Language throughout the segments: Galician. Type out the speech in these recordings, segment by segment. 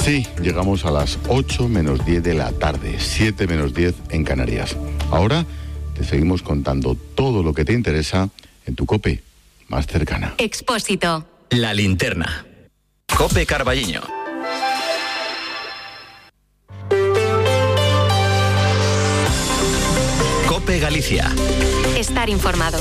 Así llegamos a las 8 menos 10 de la tarde, 7 menos 10 en Canarias. Ahora te seguimos contando todo lo que te interesa en tu COPE más cercana. Expósito. La linterna. COPE Carballiño. COPE Galicia. Estar informado.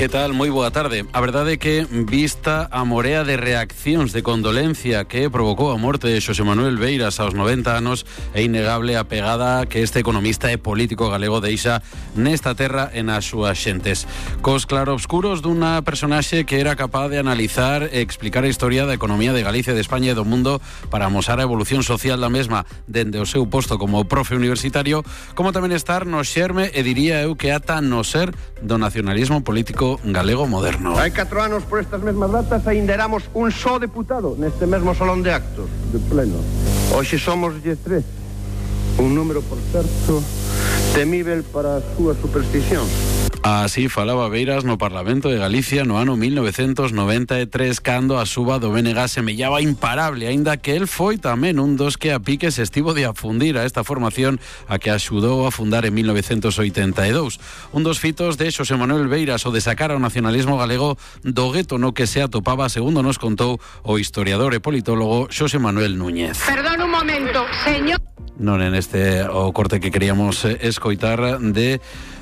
Que tal? Moi boa tarde. A verdade é que, vista a morea de reaccións de condolencia que provocou a morte de Xosé Manuel Beiras aos 90 anos, é innegable a pegada que este economista e político galego deixa nesta terra e nas súas xentes. Cos clarobscuros dunha personaxe que era capaz de analizar e explicar a historia da economía de Galicia, de España e do mundo para amosar a evolución social da mesma dende o seu posto como profe universitario, como tamén estar no xerme e diría eu que ata no ser do nacionalismo político galego moderno. Hai 4 anos por estas mesmas datas ainda éramos un só deputado neste mesmo salón de actos de pleno. Hoxe somos 13. Un número, por certo, temível para as súas supersticións. Así falaba Beiras no Parlamento de Galicia no ano 1993, cando a suba do BNG semellaba imparable, aínda que el foi tamén un dos que a piques estivo de afundir a esta formación a que axudou a fundar en 1982. Un dos fitos de Xosé Manuel Beiras o de sacar ao nacionalismo galego do gueto no que se atopaba, segundo nos contou o historiador e politólogo Xosé Manuel Núñez. Perdón un momento, señor. Non en este o corte que queríamos escoitar de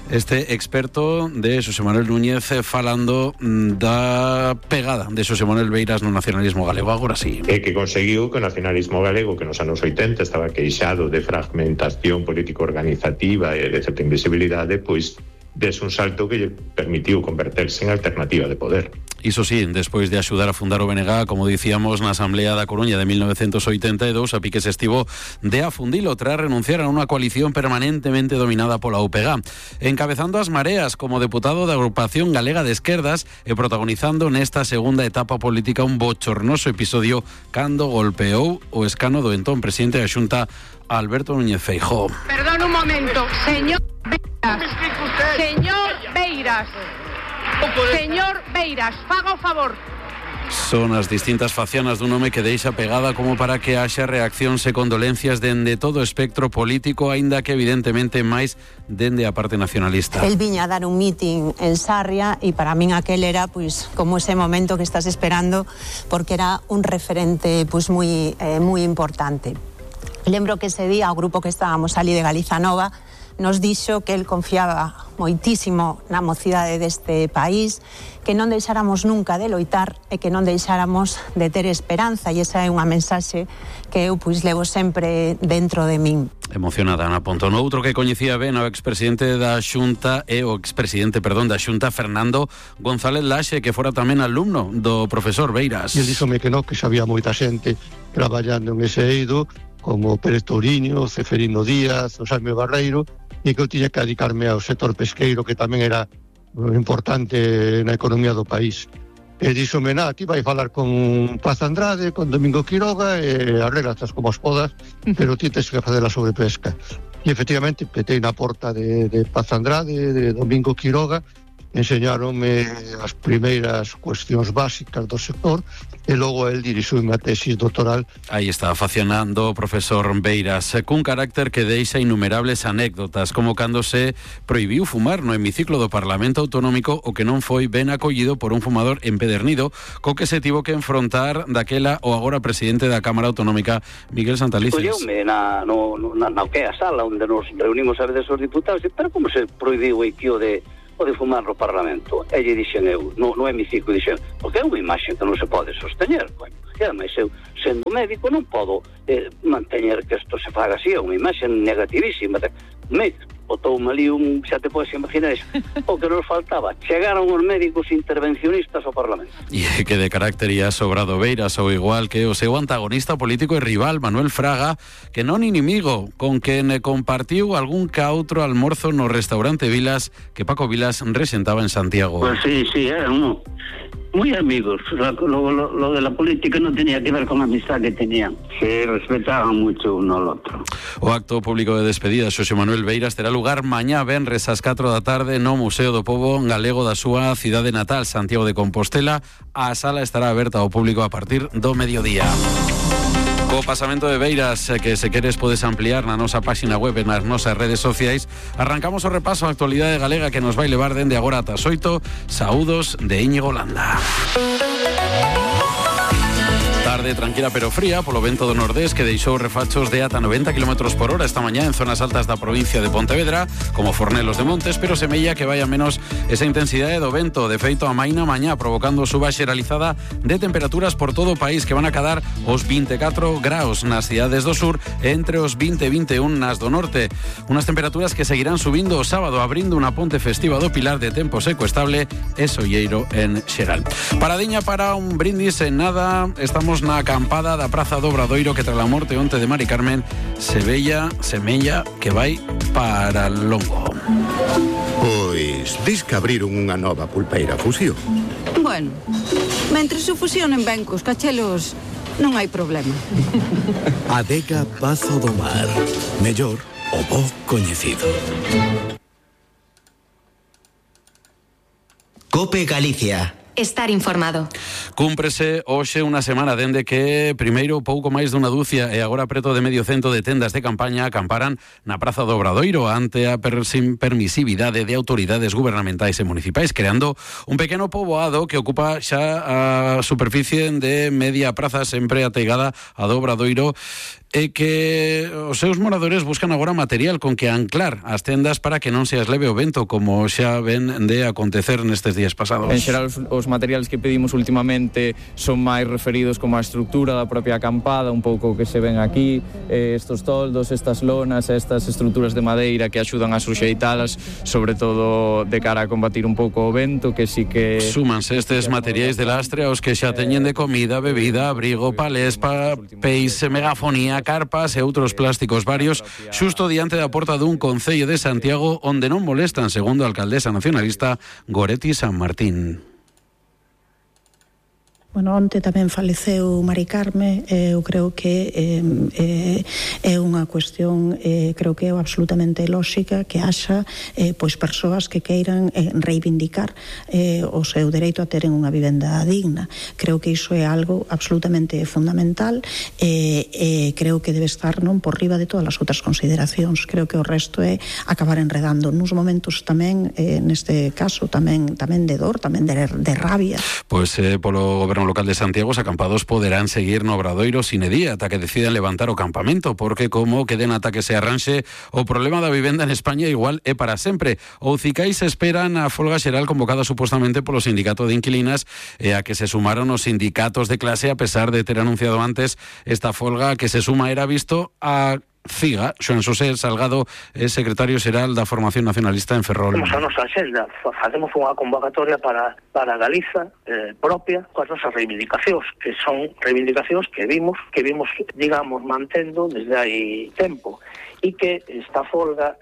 este experto de Xosé Manuel Núñez falando da pegada de Xosé Manuel Beiras no nacionalismo galego. Agora sí. E que conseguiu que o nacionalismo galego, que nos anos 80 estaba queixado de fragmentación político-organizativa e de certa invisibilidade, pois des un salto que lle permitiu converterse en alternativa de poder. Iso sí, despois de axudar a fundar o BNG, como dicíamos, na Asamblea da Coruña de 1982, a piques estivo de afundilo tras renunciar a unha coalición permanentemente dominada pola UPG, encabezando as mareas como deputado da Agrupación Galega de Esquerdas e protagonizando nesta segunda etapa política un bochornoso episodio cando golpeou o escano do entón presidente da Xunta, Alberto Núñez Feijóo. Perdón un momento, señor Beiras. Señor Beiras. Señor Beiras, faga o favor. Son as distintas facianas dun home que deixa pegada como para que haxa reaccións e condolencias dende todo o espectro político, aínda que evidentemente máis dende a parte nacionalista. El viña a dar un meeting en Sarria e para min aquel era pois como ese momento que estás esperando, porque era un referente pois moi importante. Lembro que ese día o grupo que estábamos ali de Galiza Nova nos dixo que el confiaba moitísimo na mocidade deste país, que non deixáramos nunca de loitar e que non deixáramos de ter esperanza, e esa é unha mensaxe que eu pois levo sempre dentro de min. Emocionada Ana Pontón. Outro que coñecía ben o expresidente da Xunta da Xunta, Fernando González Laxe, que fora tamén alumno do profesor Beiras. E díxome que non, que xa había moita xente traballando en ese eido, como Pérez Touriño, Ceferino Díaz, o Xaime Barreiro, e que eu tiña que dedicarme ao sector pesqueiro, que tamén era importante na economía do país. E díxome, ti vai falar con Paz Andrade, con Domingo Quiroga, e arreglas como as podas, pero ti tens que facer a sobrepesca. E efectivamente petei na porta de Paz Andrade, de Domingo Quiroga, enseñaronme as primeiras cuestións básicas do sector e logo el dirixiume a tesis doctoral. Aí está facionando o profesor Beiras cun carácter que deixa innumerables anécdotas, como cando se prohibiu fumar no hemiciclo do Parlamento Autonómico, o que non foi ben acollido por un fumador empedernido, co que se tivo que enfrontar daquela o agora presidente da Cámara Autonómica, Miguel Santalices. Colleume na que é a sala onde nos reunimos a veces os diputados, pero como se prohibiu o tío de fumar no Parlamento? E lle dixen eu, no hemiciclo, dixen, porque é unha imaxe que non se pode sosteñer. E ademais eu, sendo médico, non podo manteñer que isto se faga así, é unha imaxe negativísima. Botoume ali xa te podes imaginar o que nos faltaba, chegaron os médicos intervencionistas ao Parlamento. E que de carácter ia sobrado Beiras, ou igual que o seu antagonista político e rival Manuel Fraga, que non inimigo, con quen compartiu algún ca outro almorzo no restaurante Vilas que Paco Vilas resentaba en Santiago. Pues sí, Muy amigos. Lo de la política no tenía que ver con la amistad que tenían. Se respetaban mucho uno al otro. O acto público de despedida Xosé Manuel Beiras terá lugar mañá venres ás 4 da tarde no Museo do Pobo Galego da súa cidade natal, Santiago de Compostela. A sala estará aberta ao público a partir do mediodía. Co pasamento de Beiras, que se queres podes ampliar na nosa páxina web e nas nosas redes sociais, arrancamos o repaso á actualidade galega que nos vai levar dende agora ata as 8. Saúdos de Íñigo Landa. Tarde tranquila pero fría polo vento do nordés que deixou refachos de ata 90 km por hora esta mañá en zonas altas da provincia de Pontevedra, como Fornelos de Montes, pero semella que vai a menos esa intensidade do vento. De feito, amaina mañá provocando suba xeralizada de temperaturas por todo o país que van a cadar os 24 graus nas cidades do sur e entre os 20 e 21 nas do norte. Unas temperaturas que seguirán subindo o sábado, abrindo unha ponte festiva do Pilar de tempo seco estable e solleiro en xeral. Paradiña para un brindis en nada. Estamos na acampada da Praza do Obradoiro que tras a morte onte de Mari Carmen semella que vai para longo. Pois dis que abriron unha nova pulpeira Fusión. Bueno, mentre se fusionen ben cos cachelos non hai problema. Adega Pazo do Mar, mellor o bo coñecido. Cope Galicia. Estar informado. Cúmprese hoxe unha semana dende que primeiro pouco máis dunha dúcia e agora preto de medio cento de tendas de campaña acamparan na Praza do Obradoiro ante a permisividade de autoridades gubernamentais e municipais, creando un pequeno poboado que ocupa xa a superficie de media praza sempre ateigada a do Obradoiro e que os seus moradores buscan agora material con que anclar as tendas para que non se as leve o vento, como xa ven de acontecer nestes días pasados. En xeral, os materiales que pedimos últimamente son máis referidos como a estructura da propia acampada, un pouco que se ven aquí, estos toldos, estas lonas, estas estruturas de madeira que axudan a suxeitalas, sobre todo de cara a combatir un pouco o vento, que sí que... Súmanse estes materiais de lastre aos que xa teñen de comida, bebida, abrigo, palés, papéis, megafonía, carpas e outros plásticos varios xusto diante da porta dun concello de Santiago onde non molestan, segundo a alcaldesa nacionalista Goretti San Martín. Bueno, onte tamén faleceu Mari Carme, eu creo que é unha cuestión, creo que é absolutamente lóxica que haxa pois persoas que queiran reivindicar o seu dereito a teren unha vivenda digna. Creo que iso é algo absolutamente fundamental e creo que debe estar non por riba de todas as outras consideracións. Creo que o resto é acabar enredando nuns momentos tamén, neste caso, tamén de dor, tamén de rabia. Pois polo goberno local de Santiago, os acampados poderán seguir no Obradoiro sin edía ata que decidan levantar o campamento, porque como queden ata que se arranxe o problema da vivenda en España igual é para sempre. O Cicais esperan a folga xeral convocada supostamente polo sindicato de inquilinas e a que se sumaron os sindicatos de clase a pesar de ter anunciado antes esta folga que se suma era visto a CIGA. Xoan Xosé Salgado é secretario xeral da Formación Nacionalista en Ferrol. Temos a nosa axenda, facemos unha convocatoria para Galiza propia coas nosas reivindicacións, que son reivindicacións que vimos, digamos, mantendo desde hai tempo. E que esta folga,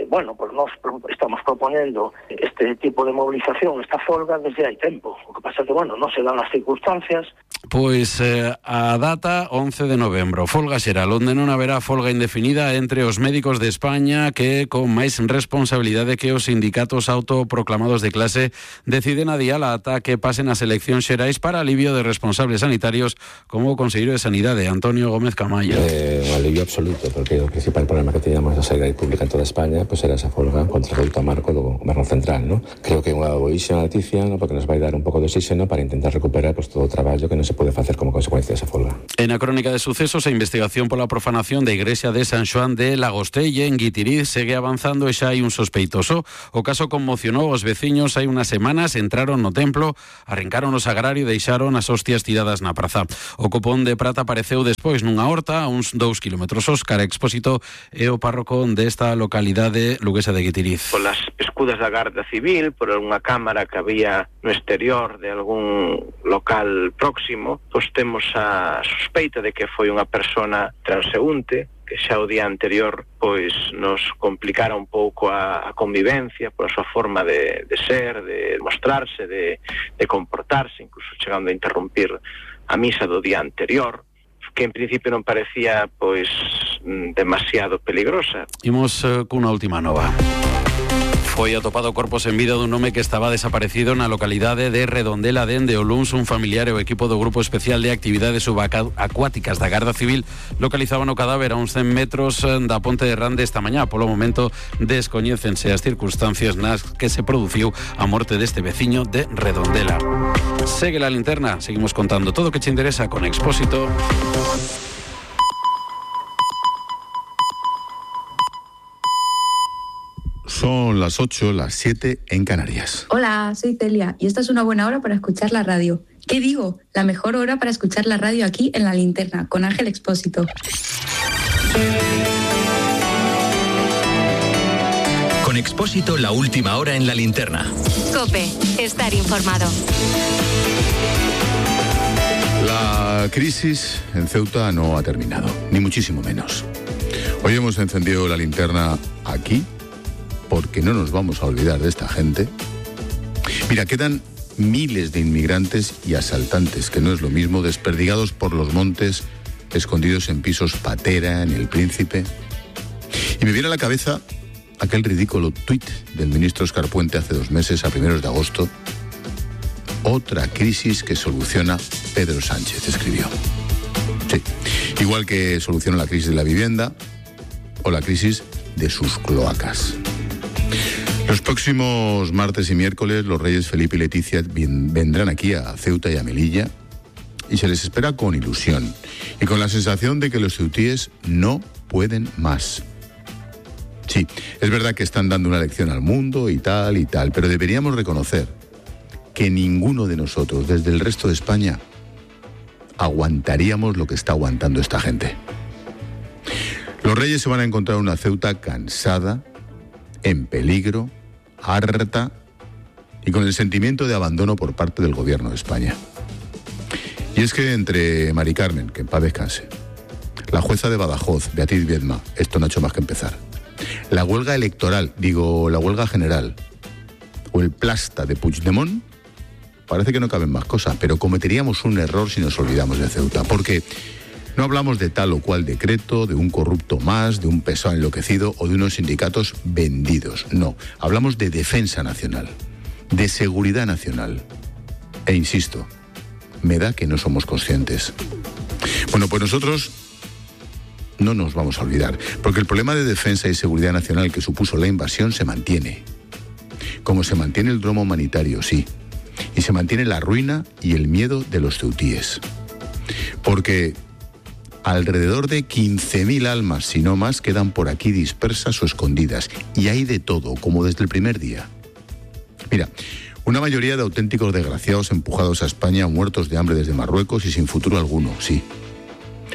pues nós estamos proponendo este tipo de movilización, esta folga desde hai tempo. O que pasa é que, non se dan as circunstancias. Pois a data 11 de novembro, folga xeral, onde non haberá folga indefinida entre os médicos de España que, con máis responsabilidade que os sindicatos autoproclamados de clase, deciden adiala ata que pasen as eleccións xerais para alivio de responsables sanitarios como o conselleiro de Sanidade, Antonio Gómez Camayo. Un alivio absoluto, porque o principal problema que teníamos na sanidade pública en toda España pues era esa folga contra o reduto marco do goberno central, ¿no? Creo que é unha boísima noticia, ¿no? Porque nos vai dar un pouco de oxígeno para intentar recuperar pues todo o traballo que non se pode facer como consecuencia desa folga. En a crónica de sucesos, a investigación pola profanación da igrexa de San Xoán de Lagostelle en Guitiriz segue avanzando e xa hai un sospeitoso. O caso conmocionou os veciños hai unas semanas, entraron no templo, arrincaron o sagrario e deixaron as hostias tiradas na praza. O copón de prata apareceu despois nunha horta a uns 2 kilómetros. Óscar Expósito é o párroco desta localidade luguesa de Guitiriz. Polas escudas da Garda Civil, por unha cámara que había no exterior de algún local próximo, pois temos a sospeita de que foi unha persona transeúnte que xa o día anterior pois nos complicara un pouco a convivencia pola súa forma de ser, de mostrarse, de comportarse, incluso chegando a interrumpir a misa do día anterior, que en principio non parecía pois demasiado peligrosa. Imos cunha última nova. Foi atopado corpo sen vida dun home que estaba desaparecido na localidade de Redondela dende o luns. Un familiar e o equipo do Grupo Especial de Actividades Subacuáticas da Garda Civil localizaban o cadáver a uns 100 metros da Ponte de Rande esta mañá. Polo momento descoñécense as circunstancias nas que se produciu a morte deste veciño de Redondela. Segue la linterna, seguimos contando todo o que te interesa con Expósito. Son las 8, las 7 en Canarias. Hola, soy Celia y esta es una buena hora para escuchar la radio. ¿Qué digo? La mejor hora para escuchar la radio aquí en La Linterna, con Ángel Expósito. Con Expósito, la última hora en La Linterna. COPE, estar informado. La crisis en Ceuta no ha terminado, ni muchísimo menos. Hoy hemos encendido la linterna aquí, porque no nos vamos a olvidar de esta gente. Mira, quedan miles de inmigrantes y asaltantes, que no es lo mismo, desperdigados por los montes, escondidos en pisos patera, en El Príncipe. Y me viene a la cabeza aquel ridículo tuit del ministro Óscar Puente hace 2 meses, a primeros de agosto. Otra crisis que soluciona Pedro Sánchez, escribió. Sí, igual que soluciona la crisis de la vivienda o la crisis de sus cloacas. Los próximos martes y miércoles los reyes Felipe y Leticia vendrán aquí a Ceuta y a Melilla y se les espera con ilusión y con la sensación de que los ceutíes no pueden más. Sí, es verdad que están dando una lección al mundo y tal, pero deberíamos reconocer que ninguno de nosotros, desde el resto de España, aguantaríamos lo que está aguantando esta gente. Los reyes se van a encontrar una Ceuta cansada, en peligro, harta y con el sentimiento de abandono por parte del gobierno de España. Y es que entre Mari Carmen, que en paz descanse, la jueza de Badajoz, Beatriz Viedma, esto no ha hecho más que empezar, la huelga electoral, la huelga general, o el plasta de Puigdemont, parece que no caben más cosas, pero cometeríamos un error si nos olvidamos de Ceuta, porque no hablamos de tal o cual decreto, de un corrupto más, de un pesado enloquecido o de unos sindicatos vendidos. No, hablamos de defensa nacional, de seguridad nacional. E insisto, me da que no somos conscientes. Bueno, pues nosotros no nos vamos a olvidar, porque el problema de defensa y seguridad nacional que supuso la invasión se mantiene. Como se mantiene el drama humanitario, sí. Y se mantiene la ruina y el miedo de los ceutíes. Porque alrededor de 15.000 almas, si no más, quedan por aquí dispersas o escondidas. Y hay de todo, como desde el primer día. Mira, una mayoría de auténticos desgraciados empujados a España, muertos de hambre desde Marruecos y sin futuro alguno, sí.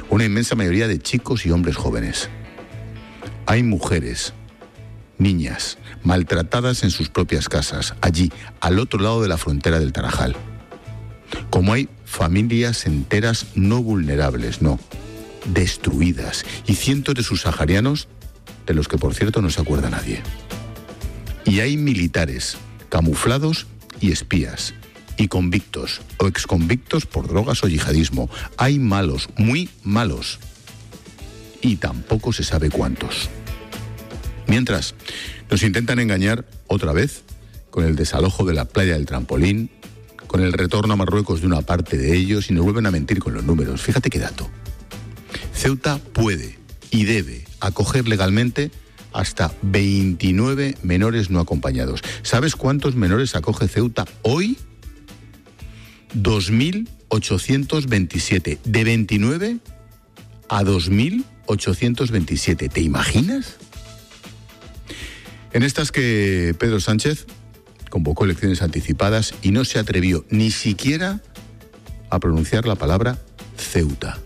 Una inmensa mayoría de chicos y hombres jóvenes. Hay mujeres, niñas, maltratadas en sus propias casas, allí, al otro lado de la frontera del Tarajal. Como hay familias enteras no vulnerables, no, destruidas, y cientos de subsaharianos, de los que por cierto no se acuerda nadie. Y hay militares, camuflados y espías, y convictos o exconvictos por drogas o yihadismo. Hay malos, muy malos, y tampoco se sabe cuántos. Mientras, nos intentan engañar otra vez con el desalojo de la playa del Trampolín, con el retorno a Marruecos de una parte de ellos, y nos vuelven a mentir con los números. Fíjate qué dato. Ceuta puede y debe acoger legalmente hasta 29 menores no acompañados. ¿Sabes cuántos menores acoge Ceuta hoy? 2.827. De 29 a 2.827. ¿Te imaginas? En estas que Pedro Sánchez convocó elecciones anticipadas y no se atrevió ni siquiera a pronunciar la palabra Ceuta.